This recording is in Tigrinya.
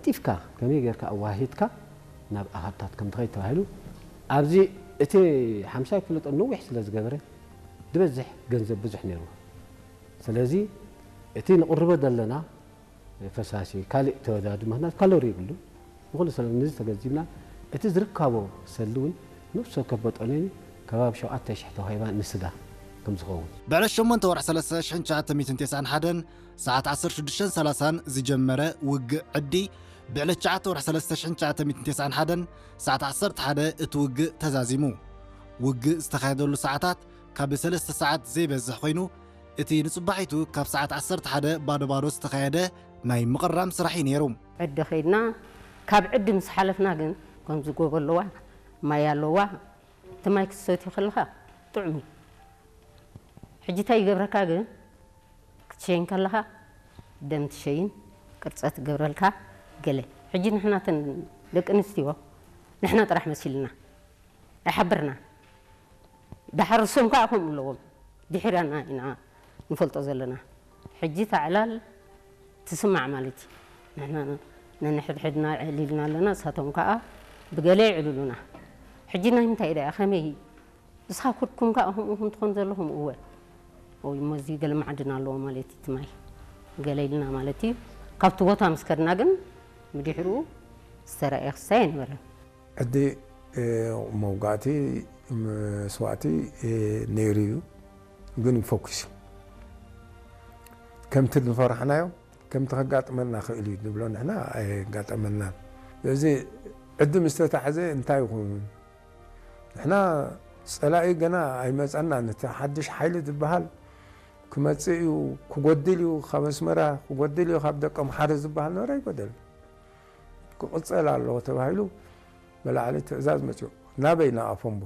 ጢፍካ ከመይ ጌርካ ኣዋሂድካ ናብ ኣሃታት ከም ትኸይድ ተባሂሉ። ኣብዚ እቲ ሓምሳይ ክፍለ ጦር ነዊሕ ስለ ዝገበረ ዝበዝሕ ገንዘብ ብዙሕ ነይሩ። ስለዚ እቲ ንቕርቦ ዘለና ፈሳሲ ካልእ ተወዳዱ፣ ምኽንያት ካሎሪ የብሉ። ንኹሉ ሰብ ነዚ ተገንዚብና፣ እቲ ዝርካቦ ሰሊ እውን ነፍሲ ወከፍ መጠኑ ከባቢ ሸውዓተ ሽሕ ተዋሂባ ንስጋ ከም ዝኸውን። ብዕለት ሸሞንተ ወርሒ ሰለስተ ሽሕን ትሽዓተ ሚእትን ተስዓን ሓደን ሰዓት ዓሰርተ ሽዱሽተን ሰላሳን ዝጀመረ ውግእ ዕዲ፣ ብዕለት ትሽዓተ ወርሒ ሰለስተ ሽሕን ትሽዓተ ሚእትን ተስዓን ሓደን ሰዓት ዓሰርተ ሓደ እቲ ውግእ ተዛዚሙ። ውግእ ዝተኻየደሉ ሰዓታት ካብ ሰለስተ ሰዓት ዘይበዝሕ ኮይኑ፣ እቲ ንጽባሒቱ ካብ ሰዓት ዓሰርተ ሓደ ባዶ ባዶ ዝተኻየደ ናይ ምቕራም ስራሕ እዩ ነይሩ። ዕዲ ኸይድና፣ ካብ ዕዲ ምስ ሓለፍና ግን ከምዚ ጎቦ ኣለዋ፣ ማይ ኣለዋ፣ እቲ ማይ ክትሰትዩ ከለኻ ጥዑም እዩ። ሕጂ እንታይ ይገብረካ ግን፣ ክትሸይን ከለኻ ደም ትሸይን፣ ቅርጸት ትገብረልካ ገለ። ሕጂ ንሕና እተን ደቂ ኣንስትዮ ንሕና ጥራሕ መሲልና ኣይሓብርና። ዳሕር እሶም ከኣ ከምኡ ኣለዎም። ድሒራና ኢና ንፈልጦ ዘለና። ሕጂ እታ ዕላል ትስማዕ ማለት እዩ። ንሕና ነንሕድሕድና ዕሊልና ኣለና፣ እሳቶም ከኣ ብገለ ይዕልሉና። ሕጂ ናይ ምንታይ ደኣ፣ ከመይ? ንስኻ ኩድኩም ከኣ ከምኡ ከም ትኾን ዘለኹም፣ እወ። ወይ እሞ እዚ ገለ ማዕድን ኣለዎ ማለት እዩ፣ እቲ ማይ። ገለ ኢልና ማለት እዩ። ካብቲ ቦታ ምስ ከድና ግን ብድሕሪኡ ዝተራእየ ክስታይ ኣይነበረን። ዕዲ፣ እ፣ መውጋእቲ፣ መስዋእቲ፣ እ፣ ነይሩ እዩ፣ ግን ይፈኩስ እዩ። ከምቲ ዝፈራሕናዮ፣ ከምቲ ከጋጥመና ክእል እዩ ንብሎ ንሕና ኣየጋጠመናን። ስለዚ ዕዲ ምስ ተታሕዘ እንታይ ይኹን? ንሕና ጸላኢ ገና ኣይመጸናን። እቲ ሓድሽ ሓይሊ ዝበሃል ክመጽእ እዩ፣ ክጎድል እዩ፣ ካብ ኣስመራ ክጎድል እዩ፣ ካብ ደቀምሓረ ዝበሃል ነበረ ኣይጎደልን። ክቕጸል ኣለዎ ተባሂሉ ብላዕሊ ትእዛዝ መጽኡ። ናበይ? ንኣፎምቦ።